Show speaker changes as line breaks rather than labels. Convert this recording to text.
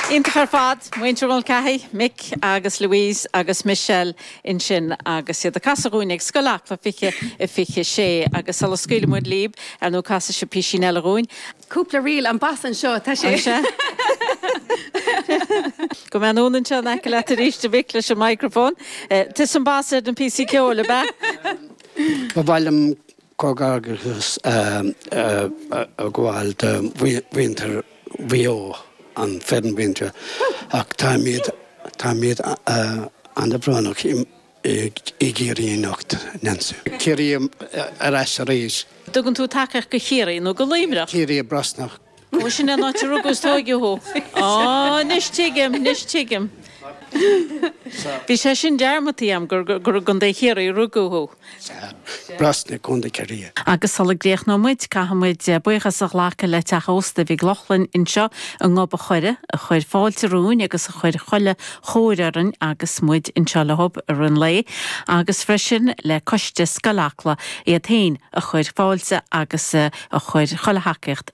Iontach ar fad, muintir Mulcahy, Mick agus Louise agus Michelle ansin agus iad ag casadh dhúinn ag Scoil Acla 20 a 26 agus sula scaoilfidh muid libh, ar ndóigh casfaidh sibh písín eile dhúinn.
Cúpla ríl, an bas anseo, tá sé.
Go mbeidh anonn anseo in aice leat arís a Mhick leis an microphone. Tusa an bas ar na píosaí ceoil, ab ea?
Ba mhaith liom comhghairdeachas a ghabháil do mhuintir Mhaigh Eo, an foireann mhuintir, ach táimid, táimid an-bhrónach i gCiarraí anocht, Nancy. Ciarraí ar ais arís.
Tugann tú tacaíocht do Chiarraí nó do Luimneach?
Ciarraí Brosnach.
Ó, sin é an áit a rugadh is tóigeadh thú. Á, anois tuigim, anois tuigim. Bhí sé sin dearmadta agam gur i gContae Chiarraí a rugadh thú.
Sea, Brosna, Contae Chiarraí.
Agus sula gcríochnóidh muid, caithfidh muid buíochas a ghlacadh le Teach Ósta Mhig Lochlainn anseo i nGob a' Choire, a chuir fáilte romhainn agus a chuir chuile chóir orainn agus muid anseo leo i rith an lae, agus freisin le Coiste Scoil Acla iad féin a chuir fáilte agus a chuir chuile thacaíocht.